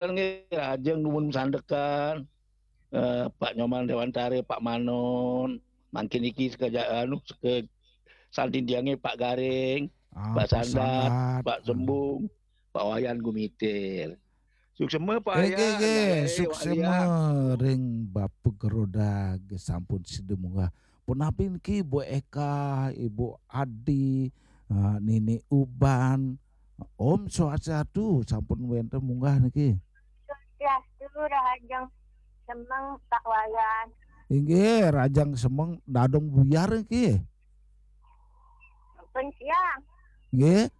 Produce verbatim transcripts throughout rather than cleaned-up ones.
Nggih, lajeng nuwun sandekan. Eh, Pak Nyoman Dewantara, Pak Manon, mangkin iki seke ja-, anu, seke santindiange Pak Garing, Ah, Pak Pak Sandat, Sandat. Pak Sembung, Pak Wayan Gumitir. Suksema Pak Eh, nggih, Wayan, nggih, Pak Wayan. Suksema ring Bapak Geroda nggih sampun sida munggah. Punapi niki Bu Eka, Ibu Adi, eh, Nini Uban. Om Swastiastu sampun wenten munggah niki. Swastiastu, rahajeng semeng Pak Wayan. Inggih, rahajeng semeng Dadong Buyar niki. Pun siang. Nggih.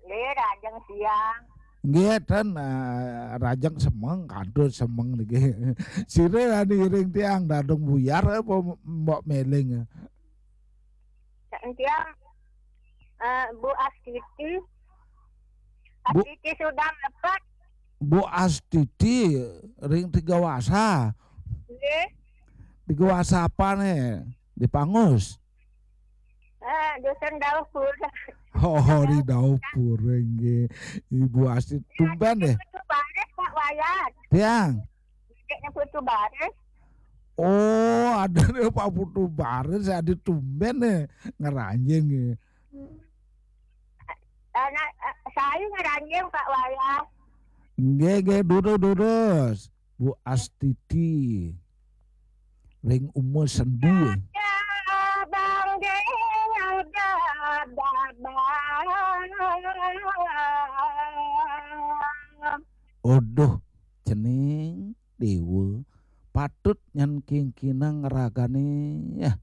Nggih, rahajeng siang. Nggih, ten, eh, rahajeng semeng, kantun semeng niki. Sira ngiring tiang Dadong Buyar apa Mbok Meling? Tiang, eh, Bu Astiti. Bu- Astiti sudah dapat. Bu Astiti ring Tiga Wasa. Nggih. Tiga Wasa apa nih? Di Pangus. Eh, dusun Dauh Pura. Oh, di Dauh Pura nggih. Ibu Astiti tumben deh. Putu Baris, Pak Wayan. Tiang. Adiknya Putu Baris. Oh, ada nih Pak Putu Baris, ada tumben nih. Ngeranjing nih. Anak, eh, saya ngeranjing, Pak Wayan. Nggih, nggih, durus, durus. Bu Astiti. Ring Uma Sendi. Ya, Bang Deng, udah, udah, Bang. Aduh, cening dewa. Patut nyan kingkinang ragane. Ya.